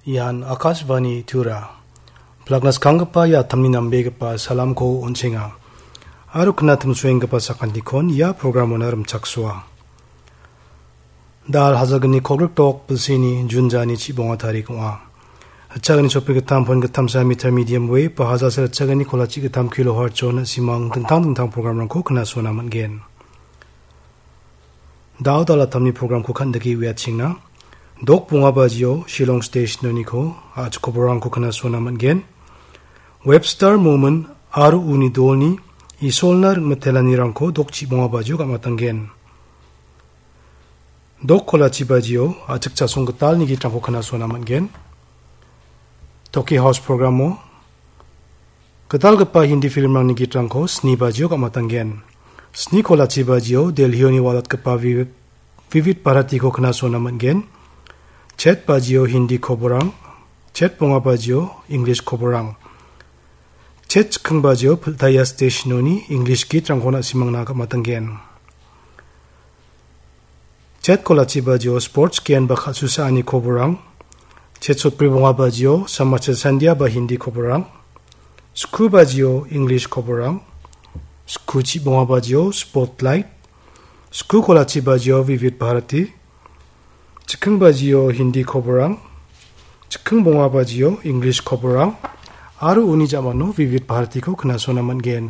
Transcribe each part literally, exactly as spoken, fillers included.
Ian Akashvani Tura. Plakna skanggipa ia atamni nambegipa salamko on·chenga. Aro knatimsoenggipa sakantikon ia programona rimchaksoa. Da·al hajalgni kolgrikdok bilsini Jun jani chibonga tarik ong·a. Ritchagni chopigittam pon gittamsa meter medium wave ba hajalsa ritchagni kolachi gittam kilohertz-o na·simang dingtang dingtang programrangko knasona man·gen. Da·o da·al atamni programko kan·dike uiatchengna. Dok bonga bajio Shillong Stationoniko a·chik koborangko knasona man·gen. Webster Moment aro uni dolni Isolna ring·mitelanirangko dok chibonga bajio gam·atanggen. Dok kolachi bajio a·chik chasong gitalni gitrangko knasona man·gen. Toki House programo gitalgipa Hindi filmrangni gitrangko sni bajio gam·atanggen. Sni kolachi bajio Delhioni walatgipa Vi-, Vivid Bharatiko knasona man·gen. Chet bajio Hindi koborang, chet bonga bajio English koborang. Chet chikking bajio Piltaya Stationoni English gitrangko na·simangna gam·atanggen. Chet kolachi bajio sports gen ba kal·susaani koborang. Chet sotbri bonga bajio Samachar Sandhya ba Hindi koborang. Sku bajio English koborang. Sku chibonga bajio Spotlight. Sku kolachi bajio Vivid Bharati. Chikking bajio Hindi koborang. Chikking bonga bajio English koborang. Aro uni ja·mano Vivid Bharatiko knasona man·gen.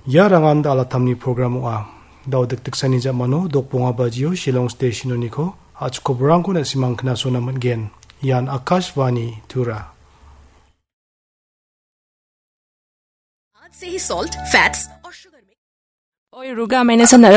Ia rangan da·al atamni program ong·a. Da·o dikdiksani ja·mano dok bonga bajio Shillong Stationoniko a·chik koborangko na·simang knasona man·gen. Ian Akashvani Tura. आज से ही salt, fats और शुगर में। Oi, Ruga, maine sana